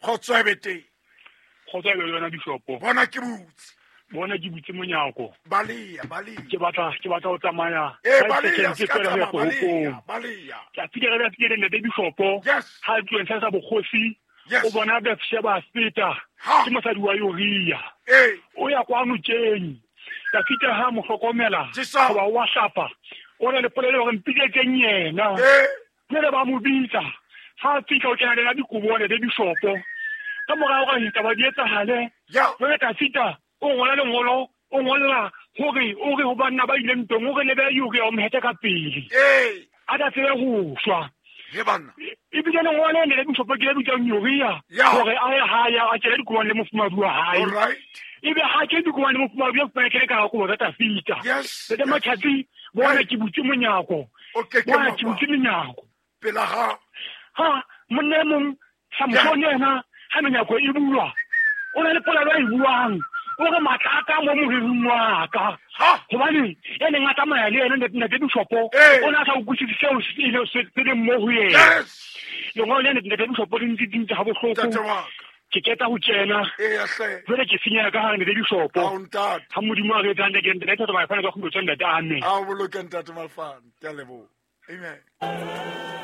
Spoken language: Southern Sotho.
Kgotso e be teng. Kgotso e be le wena, bishopo. Bona ke butse. Bona ke butse monyako. Baleya, baleya. Ke batla go tsamaya. Ee, Five baleya, seconds se ka fela go ya tsamaya, baleya, toropong. Baleya. Tsatsi le re le ntate bishopo. Ha tloheng sa bokgosi. O bona Bathsheba feta. Ke mosadi wa Uria. O ya kwano tjeng. Dafita ha mo hlokomela. Jesu. Goba wa hlapa. O na le polelo hore mpiletseng yena. Jwale ba mo bitsa. Ha a fihla o kena le yena dikobo, ntate bishopo. Ka mora hore ditaba di etsahale. Jwale Dafita o ngola lengolo, o ngolla hore o re ho banna ba ileng ntweng, o re lebe Uria o mhete ka pele. A tla tsebe ho shwa. He banna. Ebile lengolo le ntate bishopo ke le bitsang Uria. Hore a ye hae a kene dikobong le mofumahadi wa hae. Ebe ha ke dikobong le mofumahadi wa fumana ke ka kobo tsa Dafita. Ntate Matjhatsi, bona ke butse monyako. O ke ke Bona ke butse menyako. Pela ha. Ha monna e mong Samson yena ha menyako e bulwa, o na le polelo a e buang. O re matla a ka mo moriring wa ka. Hobane ya neng a tsamaya le yena, ntate bishopo, o ne a sa utlwisise seo se ile se leng mo ho yena. Lengolo le, ntate bishopo, le ntse dintse ha bohloko. Ntate wa ka. Ke qeta ho kena. Eya hle. Jwale ke senyeha ka hare, ntate bishopo. Ao, ntate. Ha Modimo a re etsang, ntate Thato Malefane ka kgutlo tsa ntate, amen. A o boloke, ntate Malefane. Ke a leboha. Amen.